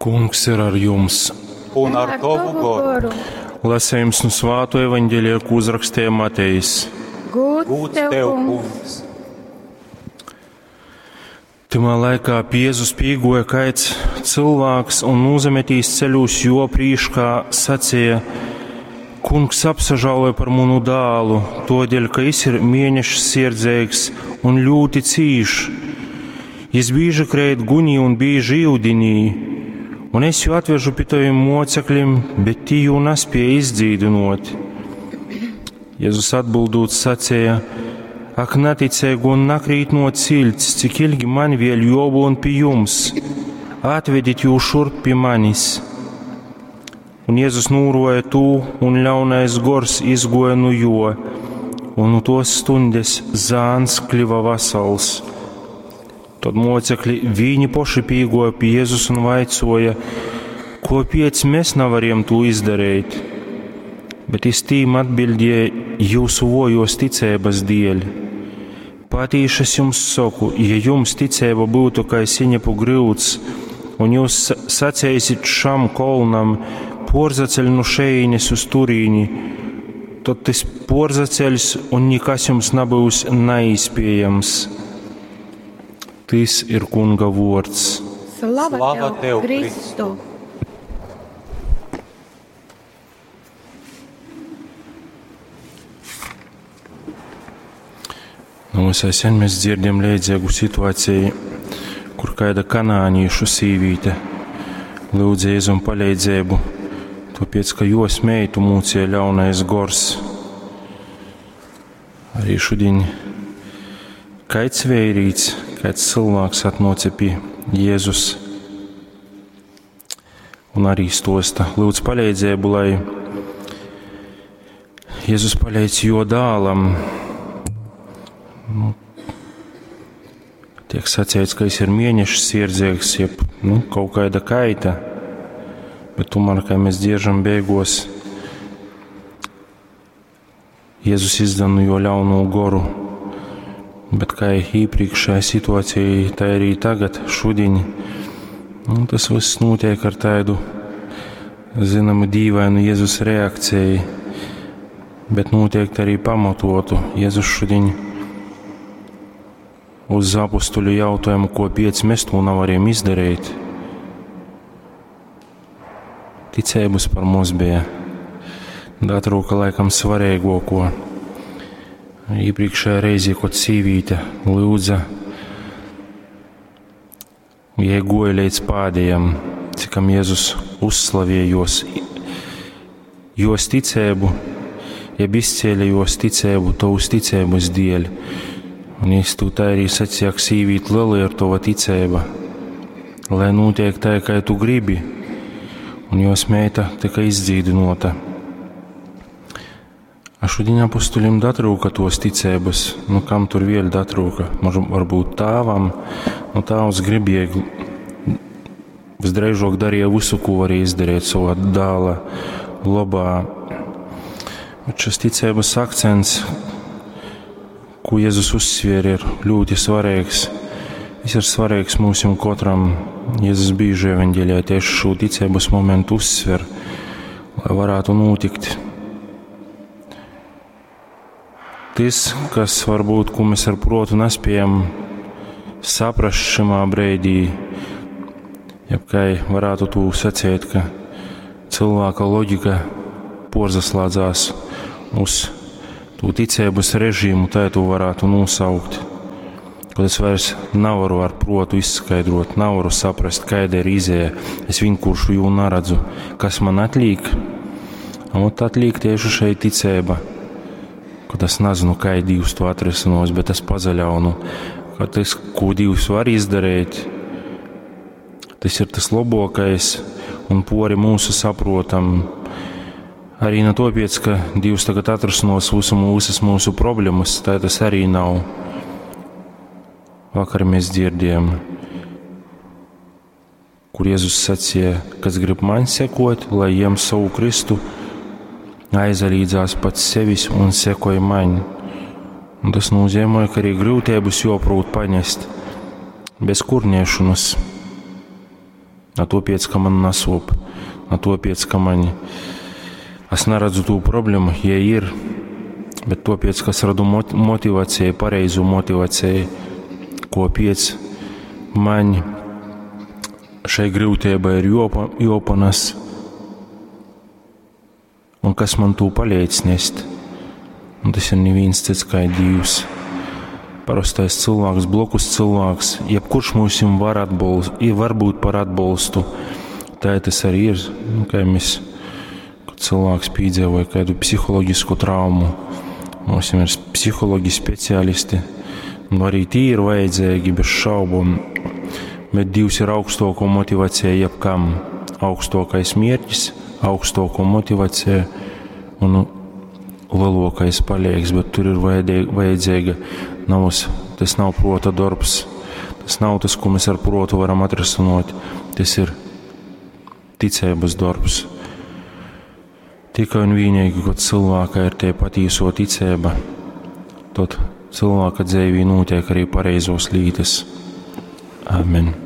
Kungs ir ar jums! Un ar tovu goru. Lasījums no Svāto evaņģēlija, ko uzrakstīja Matejs. Gūds tev, kungs! Tymā laikā pie Jēzus pīgoja kaids cilvēks un nūzametīs ceļūs jo prīškā sacīja: Kungs apsažāloja par munu dālu, todēļ, ka jis ir mēnešs sierdzeigs un ļūti cīš. Jis bīži kreit gunī un bīži iudinī, un es jū atvežu pie taviem mocekļiem, bet tī jū nespēja izdzīdinot. Jēzus atbildot sacīja: Ak, neticēgu un nakrīt no ciļts, cik ilgi man vēl jobūn pie jums, atvedit jū šurp pie manis. Un Jēzus nūroja tū, un ļaunais gors izgoja nu jo, un no tos stundes zāns kļuva vasals. Tad mocekļi viņi poši pīgoja pie Jēzus un vaicoja, ko piec mēs nevariem to izdarīt. Bet iz tīm atbildēja jūsu vojos ticības dēļ. Patīši es jums saku, ja jums ticība būtu kā siņapu gryuds, un jūs sacēsit šam kolnam, porzaceļ no šejienes uz turīni, tad tas porzaceļs un nekas jums nebūs neizpējams. Tis ir Kunga vārds. Slava, Slava tev, Kristu! Nu, visai sen mēs dzirdam līdzīgu situāciju, kur kāda kanāniešu sīvīte lūdza Jēzum palīdzību, tāpēc, ka jos meitu mūcīja ļaunais gors. Arī šodien kāds vērīts, kāds cilvēks atnāca pie Jēzus un arī stosta, lūdz palīdzību, lai Jēzus palīdz jo dālam. Nu, tiek sacīts, ka jis ir mēneša sirdzīgs, jeb nu, kaut kāda kaita, bet tomēr, kā mēs dziežam beigos, Jēzus izdana jo ļauno goru. Bet kā iepriekšējā situācija, tā arī tagad, šodien, nu, tas viss notiek ar tādu, zināmu, dīvainu Jēzus reakciju, bet notiek arī pamatotu. Jēzus šodien uz apustuļu jautājumu, ko piec mēs to nevarējām izdarīt. Ticības par mums bija. Datrūka laikam svarīgāko. Iepriekšējā reizē, kad sīvīte lūdza, jai goja līdz pādējam, cikam Jēzus uzslavēja jos, jos ticību, jeb izcēla jos ticību, tavus ticības dēļ. Un es tu tā arī sacīja, ka sīvīt liela ir tava ticība, lai notiek tā, kā tu gribi, un jos meita tika izdzīdinota. A šodien apustuļiem datrūka tos ticības, nu kam tur vēl datrūka, varbūt tēvam, nu tēvs gribēja visdrīzāk darīja visu, ko varēja izdarīt savā dēla labā. Bet šis ticības akcents, ko Jēzus uzsvēra, ir ļoti svarīgs. Viņš ir svarīgs mums un katram. Jēzus bieži evaņģēlijā tieši šo ticības momentu uzsver, lai varētu notikt. Tas, kas varbūt, ko mēs ar protu nespējam saprast šimā brīdī, jeb kā varētu to sacīt, ka cilvēka loģika porzaslēdzās uz to ticības režīmu, tā to varētu nosaukt. Kad es vairs nevaru ar protu izskaidrot, nevaru saprast, kāda ir izēja, es vienkārši jū neredzu, kas man atliek. Un atliek tieši šeit ticība. Kad es nezinu, kā Dievs to atrisinās, bet es pazaļaunu, ka tas, ko Dievs var izdarīt, tas ir tas labākais un pori mūsu saprotam. Arī ne tāpēc, ka Dievs tagad atrisinās visu, visas mūsu problēmas, tā tas arī nav. Vakar mēs dzirdējām, kur Jēzus sacīja, kas grib man sekot, lai jem savu Kristu, aizalīdzās pats sevis un sekoja man. Un tas nozīmē, ka arī grūtības joprūt paņest bez kurniešanas. Na tuopiec, ka man nasuop, na tuopiec, ka maņ es naredzu tū problemu, ja ir, bet tuopiec, ka es radu motivaceju, pareizu motivaceju, kopiec maņ šai gryuteibai ir juopanas un kas man tū paleidz nest. Un tas ir nivīns cyts kai Dīvs. Parostais cylvāks, blokus cylvāks, jebkurš myusim var, atbolst, var būt par atbolstu. Tā tas arī ir, nu, kā mēs, kad cilvēks pīdzīvoja kādu psiholoģisku traumu. Mums ir psihologi, speciālisti, un arī tī ir vajadzīgi bez šaubom, bet Dievs ir augstoko motivācija jebkam. Augstākais mērķis, augstoko motivācija un lielākais palīgs, bet tur ir vajadzīga nav, tas nav prota darbs, tas nav tas, ko mēs ar protu varam atrisināt, tas ir ticības darbs. Tikai un vienīgi, kad cilvēkā ir tie patīso ticība, tad cilvēka dzīvī notiek arī pareizos lītas. Amen.